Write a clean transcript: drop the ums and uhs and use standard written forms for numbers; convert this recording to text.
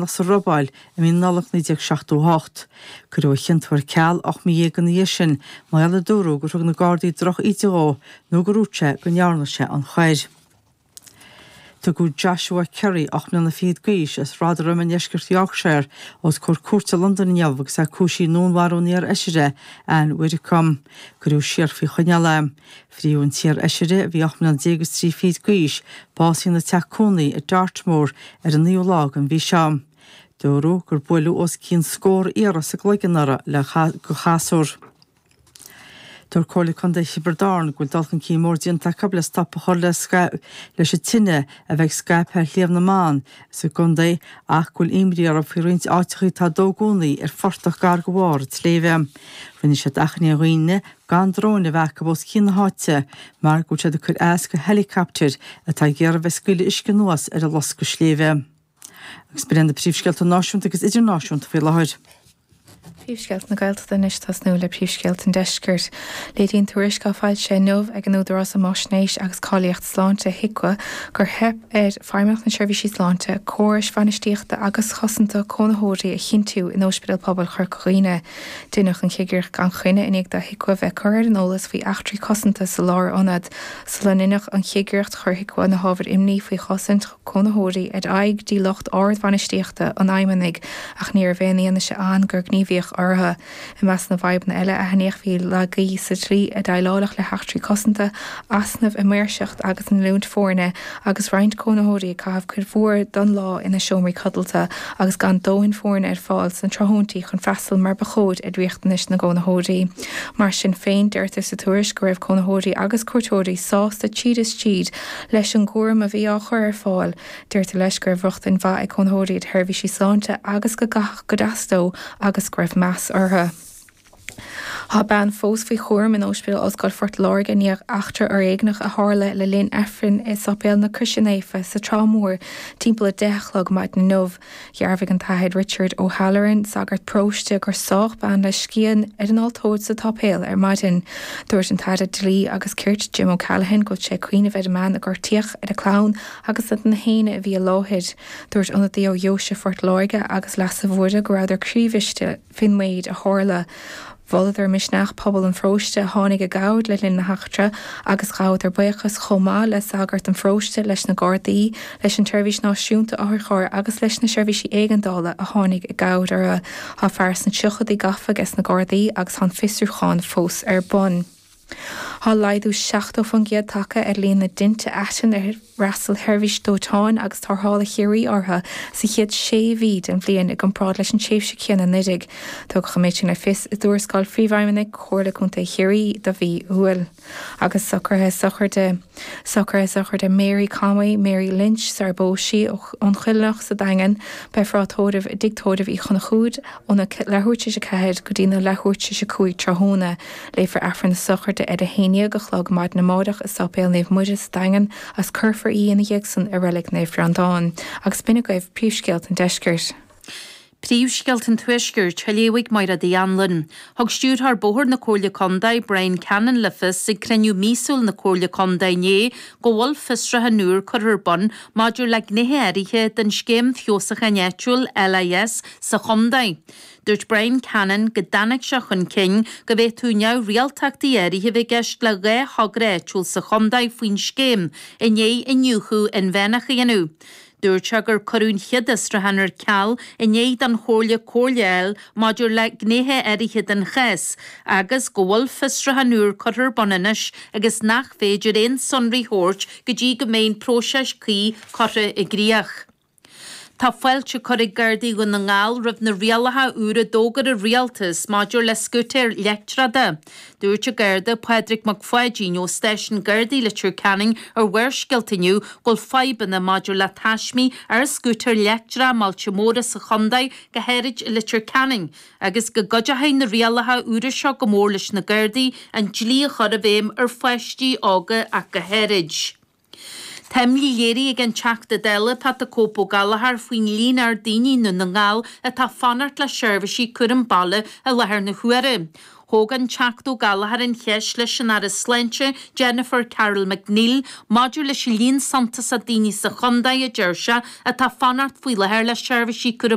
Sa robáil i mí na Nollag 1978. Cuireadh a chiontú ar ceal 18 mí ina dhiaidh sin mar gheall ar dúradh gur thug na Gardaí droch-íde dhó nó gur dhúirt sé go ndearna sé an choir. Tugadh Joshua Currie, 8 mbliana fichead d'aois, as Rotherham i ndeisceart Yorkshire, os comhair cúirte i Londain inniu agus é cúisithe i ndúnmharú an iar-fheisire, Ann Widdecombe. Cuireadh siar faoi choinneáil é. Fuair an t-iar-fheisire, a bhí 18 mbliana is 3 fichid d'aois, bás ina teach cónaí i Dartmoor ar an naoú lá den mhí seo. Dúradh gur buaileadh os cionn scór iarraidh sa gcloigeann uirthi le de chasúr. Dúirt Comhairle Contae Thiobraid Árann go bhfuil dul chun cinn mór déanta acu le stop a chur leis an tine a bheith ag scaipeadh ar Shliabh na mBan sa gcontae ach go bhfuil imní orthu faoi roinnt áiteacha atá ag dó i gcónaí ar phortach gar do bharr an tsléibhe. Rinne siad achainí ar dhaoine gan dróin a bheith acu os cionn na háite mar go bhfuil siad ag cur as do heileacaptair atá ag iarraidh bheith ag scaoileadh uisce anuas ar an loscadh sléibhe. Agus b'in iad na príomhscéalta náisiúnta agus idirnáisiúnta faoi láthair. Príomhscéalta na Gaeltachta anois tosnú le príomhscéalta an Deiscirt. Léiríonn tuairisc atá foilsithe inniu ag an Údarás um Fháisnéis agus Cáilíocht Sláinte, HIQA, gur theip ar Feidhmeannacht na Seirbhísí Sláinte córais bhainistíochta agus chosanta cónaitheoirí a chinntiú in Ospidéal Pobail Chorca Dhuibhne. Deineadh an chigireacht gan choinne i ndiaidh do HIQA bheith curtha ar an eolas faoi eachtraí cosanta sa lárionad. Sula ndeineadh an chigireacht, chuir HIQA na hábhair imní faoi chosaint cónaitheoirí ar aghaidh dtí lucht ard-bhainistíochta an Fheidhmeannaigh ach ní raibh aon fhianaise ann gur gníomhaíodh orthu. I measc na bhfadhbanna eile a aithníodh bhí laigí sa tslí a déileáladh le heachtraí cosanta, easnaimh i maoirseacht agus in oiliúint foirne agus roinnt cónaitheoirí ag caitheamh cuid mhór den lá ina seomraí codlata agus gan dóthain foirne ar fáil sna tráthnóintí chun freastal mar ba chóir ar riachtanais na gcónaitheoirí. Mar sin féin, deirtear sa tuairisc go raibh cónaitheoirí agus cuairteoirí sásta tríd is tríd leis an gcúram a bhí á chur ar fáil. Deirtear leis go raibh rochtain mhaith ag cónaitheoirí ar sheirbhísí sláinte agus go gcaitheadh go deas leo agus go raibh meas orthu. Tá bean fós faoi chúram in Ospidéal Ollscoile Phort Láirge i ndiaidh eachtra fhoréigneach a tharla le linn Aifrinn i Sáipéal na Croise Naofa sa Trá Mhór timpeall 10 a chlog maidin inniu. Dhearbhaigh an tAthair Richard O'Halloran, sagart paróiste, gur sádh bean le scian ar an altóir sa tsáipéal ar maidin. Dúirt an tAire Dlí agus Cirt Jim O'Callaghan go bhfuil sé ag cuimhneamh ar an mbean a gortaíodh, ar a clann agus ar na héinne a bhí i láthair. Dúirt ionadaí ó Dheoise Phort Láirge agus Leasa Mhuire go rabhadar croíbhriste faoin méid a tharla. Mholadar misneach pobal an pharóiste a tháinig i gcabhair le linn na heachtra agus ghabhadar buíochas chomh maith le sagart an pharóiste, leis na Gardaí, leis an tSeirbhís Náisiúnta Otharchairr agus leis na seirbhísí éigeandála a tháinig i gcabhair orthu. Tá fear sna tríochaidí gafa ages na Gardaí agus tá an fiosrúchán fós ar bun. Tá laghdú 70% tagtha ar líon na dtinte aitinn ar fhreastail Sheirbhís Dóiteáin agus Tarrthála Chiarraí orthu sa chéad sé mhí den bhliain i gcomparáid leis an tréimhse chéanna anuraidh. Tugadh an méid sin le fios i dtuarascáil Phríomhfheidhmeannaigh Chomhairle Contae Chiarraí do mhí Iúil. Agus socruithe sochraide Socruithe sochraide Mary Conway, Mary Lynch, sar a bpós sí, ón Choilleanach sa Daingean. Beifear á tórramh i dTigh Tórraimh Uí Chonchúir óna leathuair tar éis 4 go dtí na leathuair tar éis 5 tráthnóna. Léifear Aifreann na sochraide ar a 11 a chlog maidin amárach i Sáipéal Naomh Muire sa Daingean agus cuirfear í ina dhiaidh san i Reilig Naomh Breandán. Agus b'in agaibh príomhscéalta an deiscirt. Príomhscéalta an Tuaiscirt, á léamh ag Máire Uí Anluain. Thug Stiúrthóir Bóthair na Comhairle Contae, Brian Cannon le fios ag cruinniú míosúil na Comhairle Contae inné go bhfuil fiosruchán úr curtha ar bun maidir le gnéithe áirithe den Scéim Feabhsúcháin Áitiúil, LIS, sa chontae. Dúirt Brian Cannon go dtáinig sé chun cinn go bhféadfadh neamhrialtachtaí áirithe a bheith i gceist le 2 thogra áitiúil sa chontae faoin scéim i ndiaidh iniúchadh inmheánach a dhéanamh. Dúirt sé gur cuireadh an chéad fhiosrúchán ar ceal i ndiaidh don Chomhairle comhairle a fháil maidir le gnéithe áirithe den chás agus go bhfuil fiosrúchán úr curtha ar bun anois agus nach féidir aon sonraí a thabhairt go dtí go mbeidh an próiseas cuí curtha i gcrích. Tá fáilte curtha ag Gardaí Dhún na nGall roimh na rialacha úra a d'fhógair an Rialtas maidir le scútaeir leictreacha. Dúirt an Garda Pádraig Mac Pháidín ó Stáisiún Gardaí Leitir Ceanainn ar Bharrscéalta inniu go bhfuil fadhbanna maidir le taismí ar scútaeir leictreacha i mbailte móra sa chontae, go háirid i Leitir Ceanainn, agus go gcuideochaidh na rialacha úra seo go mór leis na Gardaí an dlí a chur i bhfeidhm ar pháistí óga ach go háirid. Tá imní léirithe ag an Teachta Dála Pat the Cope Ó Gallchóir faoin líon ard daoine i nDún na nGall atá ag fanacht le seirbhísí cúram baile i láthair na huaire. Thóg an Teachta Ó Gallchóir an cheist leis an Aire Sláinte, Jennifer Carroll MacNeill, maidir leis an líon suntasach daoine sa chontae, a deir sé, atá ag fanacht faoi láthair le seirbhísí cúraim.